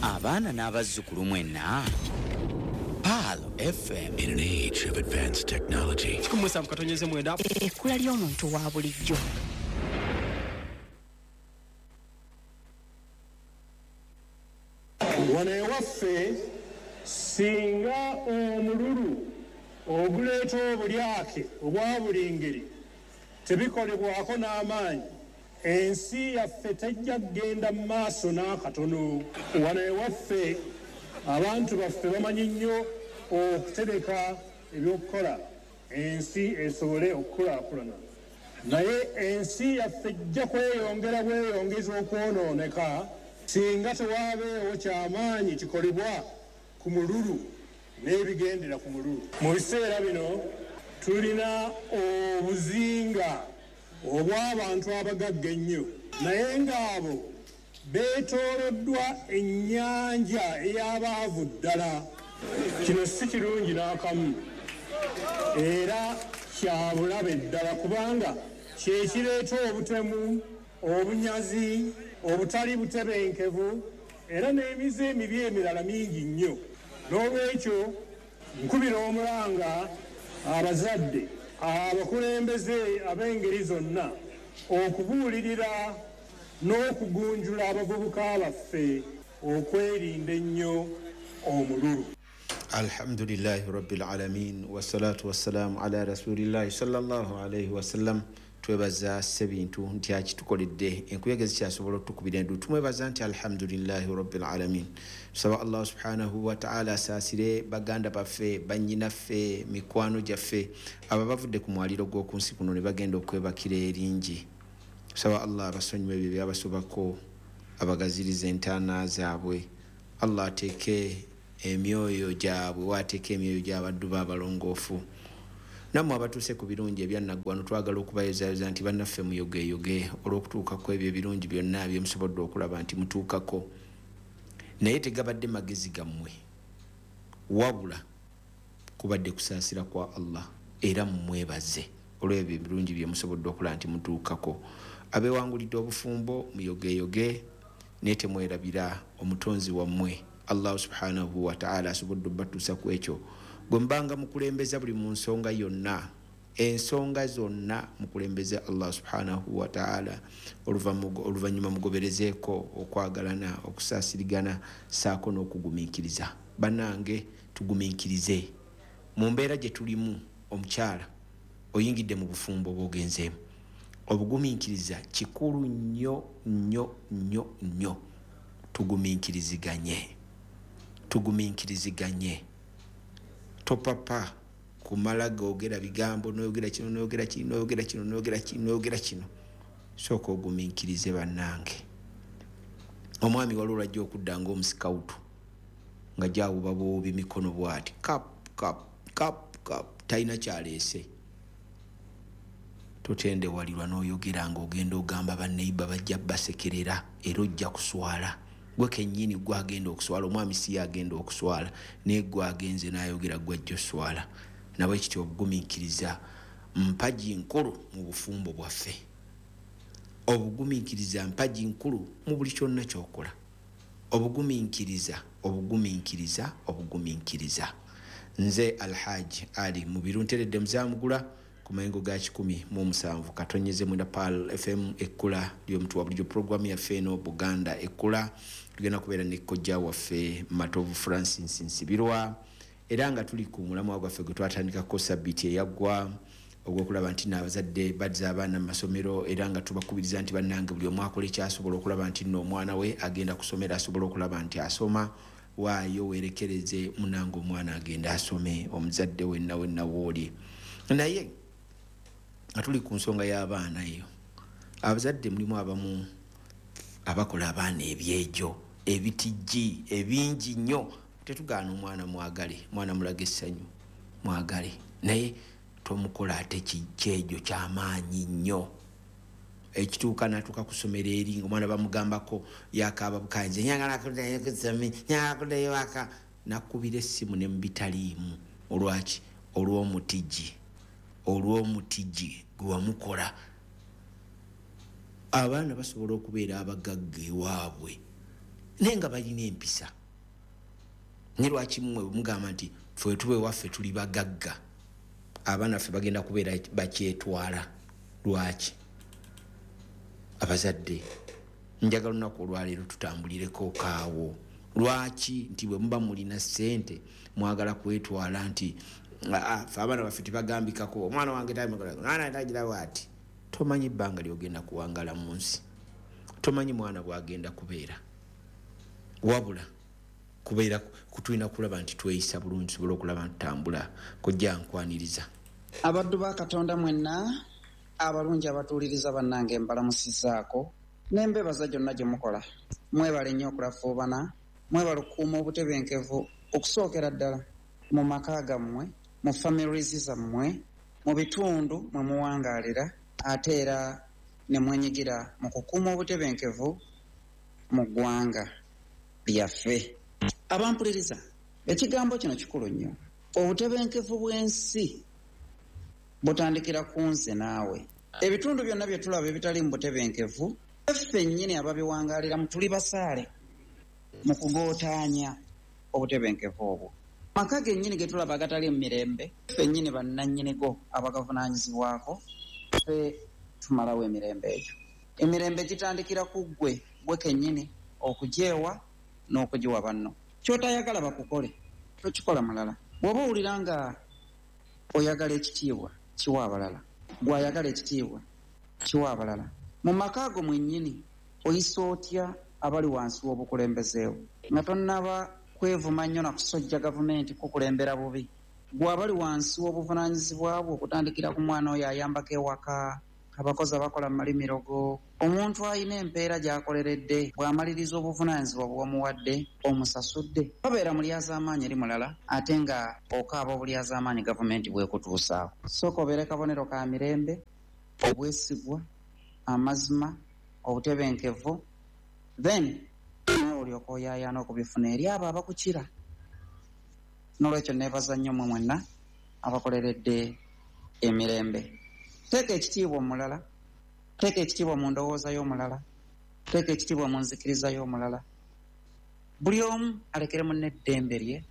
Abaana n'abazzukulu mwenna Pearl FM. In an age of advanced technology, 17.9. Ekkula ly'omuntu wa bulijjo. Wano ewaffe singa omululu oguleeta obulyake obwa buli ngeri tebikolebwako n'amaanyi, ensi yaffe tejja kugenda mu maaso n'akatono. Wano ewaffe abantu baffe bamanyi nnyo okutereka ebyokukola ensi esobole okukulaakulana, naye ensi yaffe ejja kweyongera bweyongeza okwonooneka singa tewaabeewo kyamaanyi kikolebwa ku mululu n'ebigendera ku mululu. Mu biseera bino tulina obuzinga obw'abantu abagagga ennyo, naye ng'abo beetooloddwa ennyanja ey'abaavu ddala. Kino si kirungi n'akamu era kya bulabe ddala, kubanga kye kireeta obutemu, obunyazi, obutali butebenkevu era n'emize emibi emirala mingi nnyo. N'olwekyo nkubira omulanga abazadde, abakulembeze ab'engeri zonna okubuulirira n'okugunjula abavubuka baffe okwerinda ennyo omululu. Alhamdulillahi rabbil alamin, wassalatu wassalamu ala rasulillahi sallallahu alaihi wasallam. Twebaza Ssebintu nti akitukoledde, enkuyege zikyasobola otutukubira endu. Tumwebaza nti alhamdulillahi rabbil alamin. Tusaba Allah subhanahu wa ta'ala asaasire baganda baffe, bannyinaffe, mikwano gyaffe abo abavudde ku mwaliro gw'oku nsi kuno ne bagenda okwebakira eringi. Tusaba Allah abasonyiwe ebyo ebyabasobako, abagazirize entaana zaabwe. Allah ateeke emyoyo gyabwe waateeka emyoyo gy'abaddu be abalongoofu. Nammwe abatuuse ku birungi ebyannaggwano, twagala okubayozayoza nti bannaffe muyogeeyoge olw'okutuuka ku ebyo ebirungi byonna bye musobodde okulaba nti mutuukako. Naye tegabadde magezi gammwe, wabula kubadde kusaasira kwa Allah, era mumwebaze olw'ebyo ebirungi bye musobodde okulaba nti mutuukako. Abeewangulidde obufumbo muyogeeyoge, naye temwerabira omutonzi wammwe Allah subhanahu wa ta'ala asobodde obbatuusa ku ekyo. Gwe mubanga mukulembeza buli mu nsonga yonna, ensonga zonna mukulembeze Allah subhanahu wa ta'ala, oluvannyuma mugoberezeeko okwagalana, okusaasirigana ssaako n'okugumiikiriza. Bannange tugumiikirize mu mbeera gye tulimu. Omukyala oyingidde mu bufumbo bw'ogenzeemu, obugumiikiriza kikulu nnyo nnyo nnyo nnyo. Tugumiikiriziganye, tugumiikiriziganye. Topapa kumala googera bigambo, n'oyogera kino, n'oyogera kino, n'oyogera kino, n'oyogera kino, n'oyogera kino. Sooka ogumiikirize bannange. Omwami waliwo lwajja okudda ng'omusikawutu nga gyawuba buwubi mikono bw'ati, kap kap kap kap, talina kyaleese. Totendewalirwa n'oyogera ng'ogenda ogamba banneiba bajja basekerera, era ojja kuswala. Gwe kennyini gwe agenda okuswala, omwami si ye agenda okuswala, naye gwe agenze n'ayogera gwe ajja oswala. Nabwe kityo obugumiikiriza mpagi nkulu mu bufumbo bwaffe. Obugumiikiriza mpagi nkulu mu buli kyonna ky'okola. Obugumiikiriza, obugumiikiriza, obugumiikiriza. Nze Alhaji Ali Mubiru nteredde Muzaamugula ku mayengo ga 107.9 Pearl FM, ekkula ly'omuntu wa bulijjo. Pulogulaamu yaffe eno Buganda Ekkula, tugenda kubeera ne kojja waffe Matovu Francis Nsibirwa, era nga tuli ku mulamwa gwaffe gwe twatandikako sabbiiti eyaggwa ogw'okulaba nti n'abazadde bazza abaana mu masomero, era nga tubakubiriza nti bannange buli omu akola ekyasobola okulaba nti nno omwana we agenda kusomera, asobola okulaba nti asoma. Waayo weerekereze munange omwana agenda asome, omuzadde wenna wenna wooli. Naye nga tuli ku nsonga y'abaana eyo, abazadde mulimu abamu abakola abaana ebyejo ebitijji ebingi nnyo. Tetugaana omwana mwagale, mwana mulaga essanyu mwagale, naye tomukola ate kyejo kyamaanyi nnyo ekituuka n'atuuka ku ssomero eri ng'omwana bamugambako yakaaba bukanze, njagala kuddayo ku ssomero, njagala kuddayo waka, nakubira essimu ne mu bitaliimu. Olwaki? Olw'omutijji, olw'omutijji gwe wamukola. Abaana basobola okubeera abagagga ewaabwe Naye nga balina empisa. Ne lwaki mmwe mugamba nti ffe tuba ewaffe tuli bagagga, abaana ffe bagenda kubeera bakyetwala? Lwaki? Abazadde, njagala olunaku olwaleero tutambulireko kaawo. Lwaki nti bwe muba mulina ssente mwagala kwetwala nti ffe abaana baffe tebagambikako, omwana wange tagira ati? Tomanyi bbanga lyogenda kuwangala mu nsi, tomanyi mwana bwagenda kubeera. Wabula kubeera kutulina kulaba nti tweyisa bulungi, tusobole okulaba nti tutambula. Kojja, nkwaniriza. Abaddu ba Katonda mwenna abalungi abatuuliriza, bannange, mbalamusizaako n'embebaza gyonna gye mukola. Mwebale nnyo okulafuubana, mwebale okukuuma obutebenkevu, okusookera ddala mu maka gammwe, mu families zammwe, mu bitundu mwe muwangaalira, ate era ne mwenyigira mu kukuuma obutebenkevu mu ggwanga lyaffe. Abampuliriza, ekigambo kino kikulu nnyo. Obutebenkevu bw'ensi butandikira ku nze naawe. Ebitundu byonna bye tulaba ebitali mu butebenkevu, ffe nnyini ababiwangaaliramu tuli basaale mu kugootaanya obutebenkevu obwo. Maka gennyini ge tulaba agatali mu mirembe, ffe nnyini bannannyinigo abagavunaanyizibwako, ffe tumalawo emirembe egyo. Emirembe gitandikira ku ggwe, gwe kennyini, okugyewa n'okugiwa banno. Ky'otayagala bakukole, tokikola mulala. Bw'oba owulira nga oyagala ekitiibwa, kiwa abalala. Gw'ayagala ekitiibwa, kiwa abalala. Mu maka ago mwennyini, oyisa otya abali wansi w'obukulembezeewo? Nga tonnaba kwevuma nnyo na kusojja gavumenti kukulembera bubi, gwe abali wansi w'obuvunaanyizibwa bwo, okutandikira ku mwana oyo ayambako ewaka, abakozi abakola mu malimiro go, omuntu alina empeera gy'akoleredde, bw'amaliriza obuvunaanyizibwa bw'omuwadde, omusasudde? Babeera mulyazaamaanyi eri mulala, ate nga okaaba obulyazaamaanyi gavumenti bwekutuusaako. Sooka obeere kabonero ka mirembe, obwesigwa, amazima, obutebenkevu, then nawe olyoka oyaayaana okubifuna eri abo abakukira. N'olwekyo neebaza nnyo mmwe mwenna abakoleredde emirembe. Teeka ekitiibwa omulala, teeka ekitiibwa mu ndowooza y'omulala, teeka ekitiibwa mu nzikiriza y'omulala. Buli omu alekere munne eddembe lye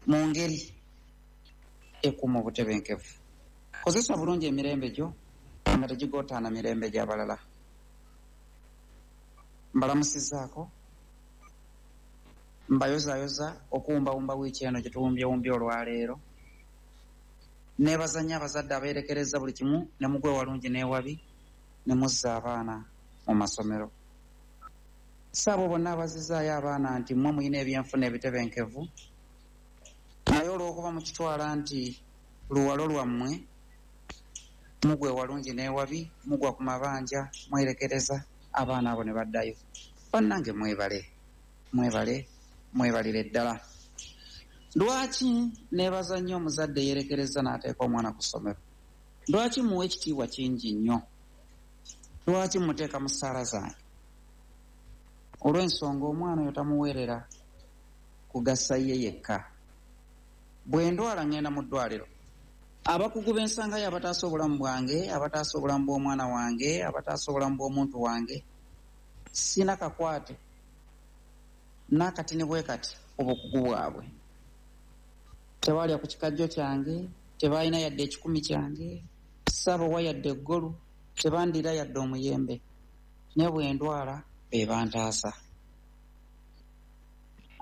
mu ngeri ekuuma obutebenkevu. Kozesa bulungi emirembe gyo nga tegigootaana mirembe gy'abalala. Mbalamusizaako, mbayozaayoza okuwumbawumba wiiki eno gye tuwumbyewumbye olwaleero. Neebaza nnyo abazadde abeerekereza buli kimu ne mugwa ewalungi n'ewabi ne muzza abaana mu masomero. Si abo bonna abazizaayo abaana nti mmwe mulina ebyenfuna ebitebenkevu, naye olw'okuba mukitwala nti luwalo lwammwe, mugwa ewalungi n'ewabi, mugwa ku mabanja, mwerekereza abaana abo ne baddayo. Bannange, mwebale, mwebale, mwebalire ddala. Lwaki neebaza nnyo omuzadde yeerekereza n'ateeka omwana ku ssomero? Lwaki muwa ekitiibwa kingi nnyo? Lwaki muteeka mu ssaala zange? Olw'ensonga omwana oyo tamuweerera kugasa ye yekka. Bwe ndwala, ŋŋenda mu ddwaliro, abakugu b'ensangayo abataasa obulamu bwange, abataasa obulamu bw'omwana wange, abataasa obulamu bw'omuntu wange, sina kakwate n'akatini bwe kati obukugu bwabwe. Tebalya ku kikajjo kyange, tebalina yadde ekikumi kyange, saabawa yadde eggolu, tebandira yadde omuyembe, naye bwe ndwala be bantaasa.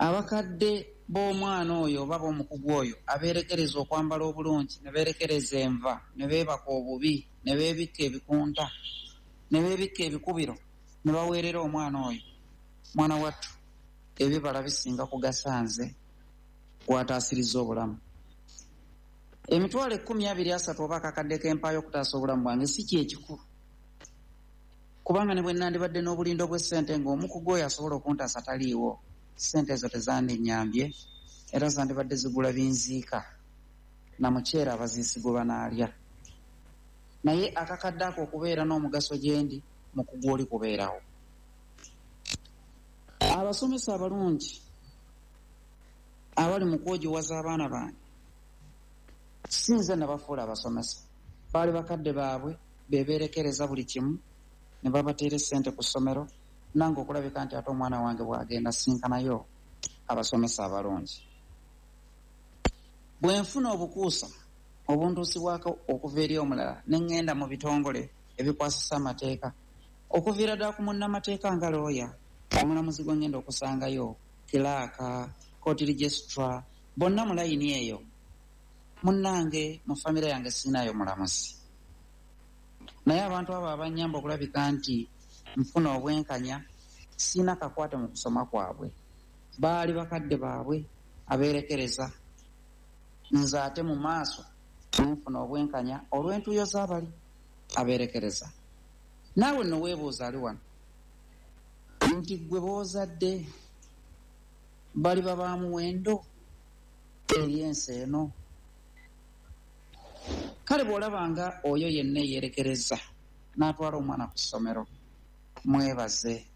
Abakadde b'omwana oyo oba b'omukugu oyo abeerekereza okwambala obulungi, ne beerekereza enva, ne beebaka obubi, ne beebikka ebikunta, ne beebikka ebikubiro, ne baweerera omwana oyo, mwana wattu, ebibala bisinga kugasa nze gwataasiriza obulamu. 100,000, 20, 30 oba akakadde k'empaayo okutaasa obulamu bwange si kyekikulu, kubanga ne bwe nandibadde n'obulindo bw'essente ng'omukugu oyo asobola okuntaasa taliiwo, ssente ezo tezandinnyambye, era zandibadde zigula binziika na muceere abaziisi gwe banaalya. Naye akakadde ako okubeera n'omugaso gye ndi, mukugu oli kubeerawo. Abasomesa abalungi abali mu kwogiwaza abaana bange, si nze nabafuula abasomesa, baali bakadde baabwe bebeerekereza buli kimu ne babateera essente ku ssomero. Nange okulabika nti ate omwana wange bw'agenda sinkanayo abasomesa abalungi. Bwe nfuna obukuusa obuntuusibwako okuva eri omulala, ne ŋŋenda mu bitongole ebikwasisa amateeka, okuviira ddala ku munnamateeka nga looya, omulamuzi gwe ŋŋenda okusangayo, kilaaka, court registrar, bonna mu layini eyo. Munnange, mu famire yange siinayo mulamuzi, naye abantu abo abannyamba okulabika nti nfuna obwenkanya, siina kakwate mu kusoma kwabwe. Baali bakadde baabwe abeerekereza, nze ate mu maaso nenfuna obwenkanya olw'entuuyo z'abali abeerekereza. Naawe nno weebuuza ali wano nti ggwe b'ozadde baliba ba muwendo eri ensi eno? Kale bw'olabanga oyo yenna eyeerekereza n'atwala omwana ku ssomero, mwebaze.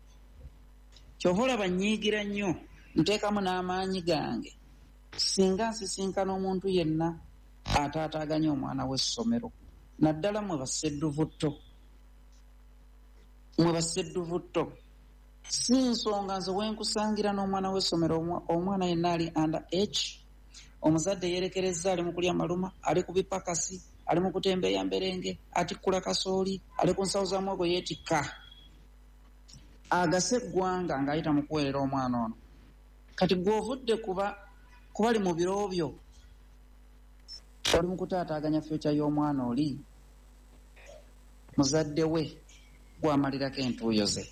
Kyova olaba nnyiigira nnyo, nteekamu n'amaanyi gange singa nsisinkana omuntu yenna ataataaganya omwana w'essomero, naddala mwe bassedduvutto. Mwe bassedduvutto, si nsonga nze wenkusangira n'omwana w'essomero, omwana yenna ali under age, omuzadde yeerekereza, ali mu kulya maluma, ali ku bipakasi, ali mu kutembeeya mberenge, atikkula kasooli, ali ku nsawo za muwogo yeetikka, agase eggwanga ng'ayita mu kuweerera omwana ono. Kati gw'ovudde kuba kubali mu biro byo, oli mu kutaataaganya fyokya y'omwana oli muzadde we gwamalirako entuuyo ze.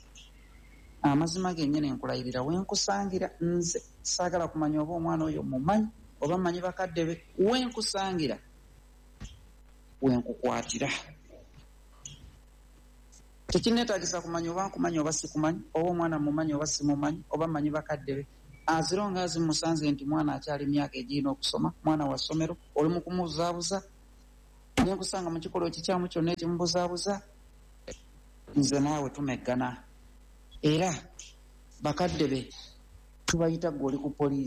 Amazima gennyini nkulayirira, wenkusangira nze saagala kumanya oba omwana oyo mumanyi oba mmanyi bakadde be, wenkusangira wenkukwatira. Tekinneetaagisa kumanya oba nkumanyi oba sikumanyi, oba omwana mumanyi oba simumanyi, oba mmanyi bakadde be. Aziro nga azimusanze nti mwana akyali myaka egirina okusoma, mwana wa ssomero, oli mu kumubuzaabuza, nenkusanga mu kikolwa ekikyamu kyonna ekimubuzaabuza, nze naawe tumeggana. Era bakadde be tubayita, ggwe oli ku poliisi.